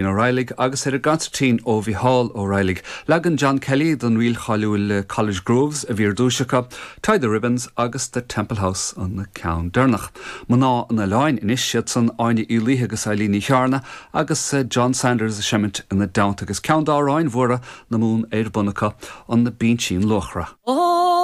Ó Raghallaigh agus ar an gconsairtín ó Mhícheál Ó Raghallaigh. Leagan John Kelly den ríl cháiliúil College Grooves a bhí ar dtúis acu, Tie the Ribbons agus The Temple House an ceann deireanach. Mná an Oileáin anois, siad san Áine Uí Laoithe agus Eileen Ní Chearna agus John Sanders ag seimint ina dteannta agus ceann d'amhráin mhóra na Mumhan ar bun acu, An Binsín Luachra. Ó!